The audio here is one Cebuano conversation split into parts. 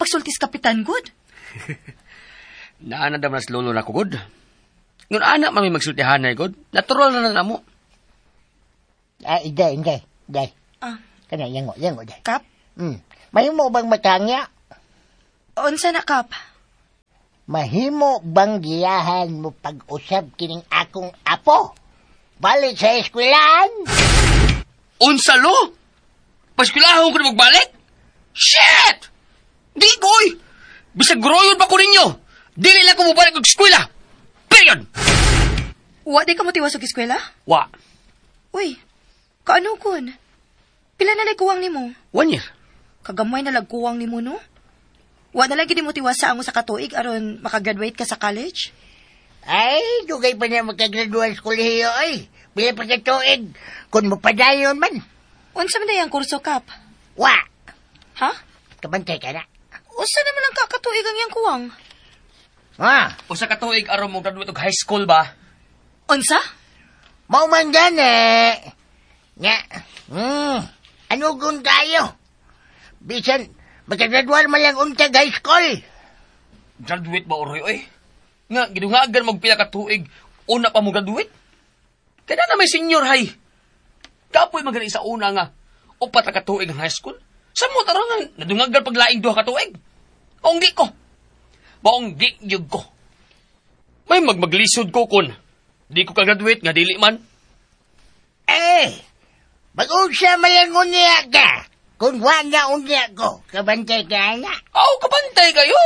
pagsulti sa kapitan, gud? Naana daw nas lolo na ko, gud. Ngun ana mami magsultihanay, gud. Natural na na mo. Ah, inday, inday, inday. Ah. Kana, yango, yango, day. Kap? Mahimo bang matangya? Unsa na, Kap? Mahimo bang giyahan mo pag-usab kining akong apo? Balik sa eskwelaan? Unsa lo? Paskwilahon ko na magbalik? Shit! Di ko, oy! Bisag groyon pa ko ninyo! Dili lang ko mobalik og eskwela! Period! Wa di ka mo tiwas og eskwela? Wa. Uy, kaano kun? Pila na lay kuwang nimo? 1 year. Kagamay na lag kuwang nimo, no? Wa na lagi di mo tiwas sa ang usa ka tuig aron makagraduate ka sa college? Ay, dugay pa na makagraduan sa kolehiyo, ay. Pila pa ka tuig, kung mapadayon man. Unsa man day ang kurso, Kap? Wa, Ha? kabantay ka na. Usa naman ang kakatuig ang iyang kuwang. Ha, Usa ka tuig aron mo graduate og high school ba? Unsa? Mao man gani. Nga, ano kung tayo? Bisan, makagraduan man lang untag high school. Graduate ba oroy oy? Nga gidungagan mo pila ka tuig una pa mo graduate? Kaya na may senior high. Kapoy man gani sa una nga 4 ra ka tuig ang high school. Sa mo tara nga nadungagan paglaing 2 ka tuig. Maong di ko. Maong di gyud ko. May magmaglisod ko kun di ko ka-graduate nga dili man. Eh, mag-unsa man lang unya ka. Kung wa na unya ko, kabantay ka na. Aw, kabantay kayo.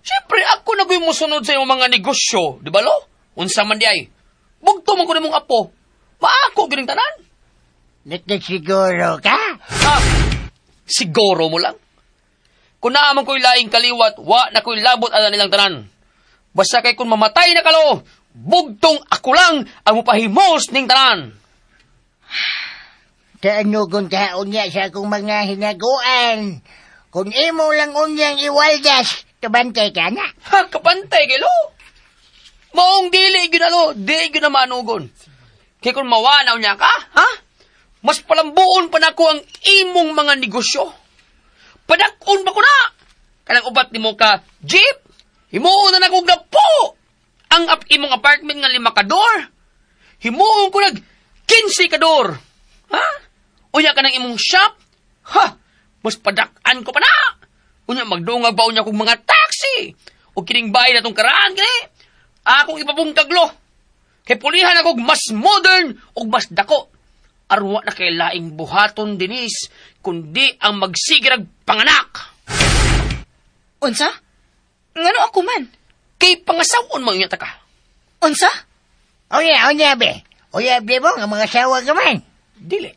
Siyempre, ako na ko'y musunod sa imong mga negosyo, di ba lo? Unsa man di ay. Bugto man ko nimong apo. Maako gining tanan. Nakasiguro ka? Ha? Siguro mo lang. Kung naa man ko'y laing kaliwat, wa na ko'y labot ala nilang tanan. Basta kay kung mamatay na kalo, bugtong ako lang ang mupahimos ning tanan. Kaano kung kaon niya sa akong mga hinaguan? Kung imo lang unyang iwaldas, kabantay ka na. Ha, kapantay kay lo. Maong dili gyud na lo, di gyud na manugon. Kay kung mawanaw niya ka, ha? Mas palambuon pa nako ang imong mga negosyo. Padak-on pa ko na. Kanang upat nimo ka jeep, himuon na nako po. Ang imong apartment nga 5 ka door. Himuon ko nag 15 ka door. Ha? Unya ka ng imong shop? Ha? Mas padak-an ko pa na. Unya magdungag ba unya kog mga taxi? O kining bahay na tong karaan kini? Akong ipabungkaglo. Kay pulihan ako og mas modern ug mas dako. Arwa na kay laing buhaton dinis kundi ang magsigirag panganak. Unsa? Ngano ako man? Kay pangasawon man unya ta ka. Unsa? Unya, unya, be. Unya, be mo, nga mga sawa ka man. Dili.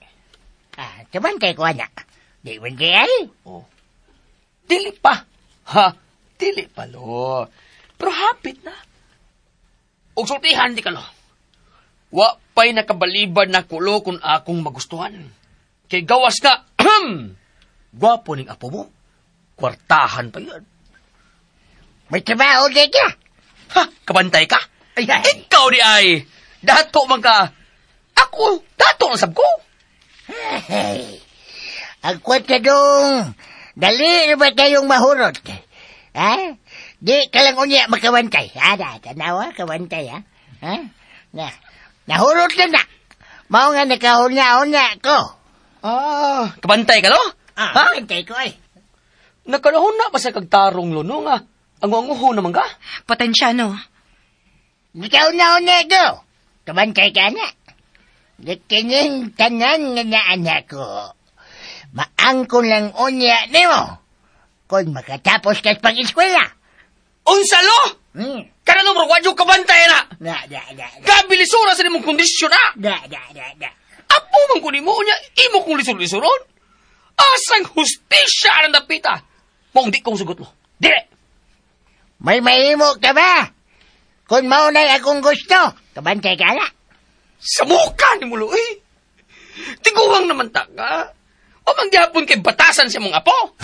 Ah, kabantay ko, anak. Di man di ay. Oh. Dili pa. Ha? Dili pa, lo. Pero hapit na. Og sultihan di ka, lo. Wa pa'y nakabaliban na kulo kung akong magustuhan. Kay gawas ka, gwapo ning apo mo. Kwartahan pa yun. May trabaho di ka. Ha? Kabantay ka? Ay, ay. Ikaw di ay. Dato man ka. Ako, dato ang sab ko. Hey, ang kwenta dong, dali na ba kayong mahurot? Ha? Di ka lang unya makawantay. Ha, da, tanawa, kawantay, ha? Ha? Na, nahurot na na. Mao nga nakahuna-huna ko. Ah, kabantay ka, lo? Ah, Ha? kabantay ko, ay. Nakalahon na pa sa kagtarong luno nga. Ang-anguho naman ka. Potensyano. Nakahuna-huna ko. Kabantay ka na. Nakining tanan nga naanak ko. Maangkon lang unya nimo. Kung makatapos ka sa pag-eskwela. Unsa lo? Kana no, bro, wadyo kabantay na. Na, na, na, na. Kabilisura sa nimong kondisyon na. Na, na, na, na. Apo man ko nimo unya, imo kong lisod-lisuron. Asang hustisya ang dapita. Maong di kong sugot mo. Dire! May mahimo ka ba? Kung maunay akong gusto, kabantay ka na. Sa mukha ni mo, eh. Tiguang naman ta ka. O mangyapon kay batasan sa mong apo.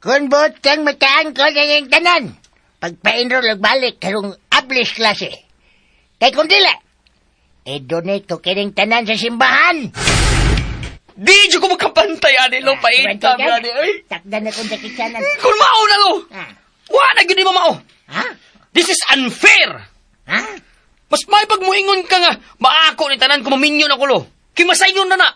Kung buot kang mataan ko na yung tanan, pagpa-enroll og balik karong ablis klase. Kay kung dili, i-donate ko kining tanan sa simbahan. Di jud ko makapantay ani lo, paita Kabantay ka? ani ay. Takdan akong dakitsanan. Kung mao na lo. Ah. Wa na gyud ni mao. Ha? This is unfair. Ha? Mas may pagmuingon ka nga, maako ni tanan kung maminyo na ko lo. Kay masayon na na.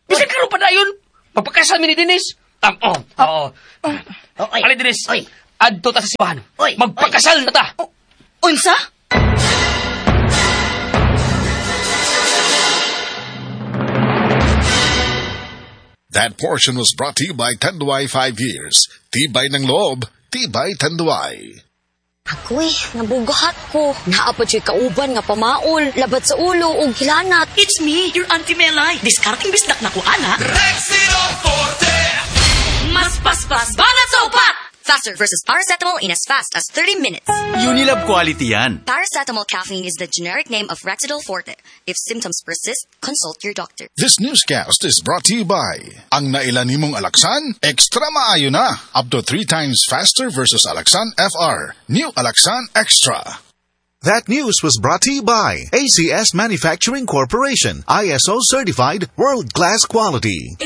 Bisan karon pa dayon, magpakasal mi ni Denise. Oh, oo. Oh, oy. Ali Denise, Oy. adto ta sa simbahan. Oy, Magpakasal na ta. Unsa? That portion was brought to you by Tanduay 5 Years. Tibay ng loob, tibay Tanduay. Agoy, nabugahat ko. Naa pa juy kauban nga pamaol, labad sa ulo ug hilanat. It's me, your Auntie Melay. Diskarting bisdak na ko, ana. Mas paspas, banat sa upat! Faster versus paracetamol in as fast as 30 minutes. Unilab quality yan. Paracetamol caffeine is the generic name of Rexidol Forte. If symptoms persist, consult your doctor. This newscast is brought to you by Ang nailan nimong Alaxan, extra maayo na. Up to 3 times faster versus Alaxan FR. New Alaxan Extra. That news was brought to you by ACS Manufacturing Corporation, ISO certified world-class quality.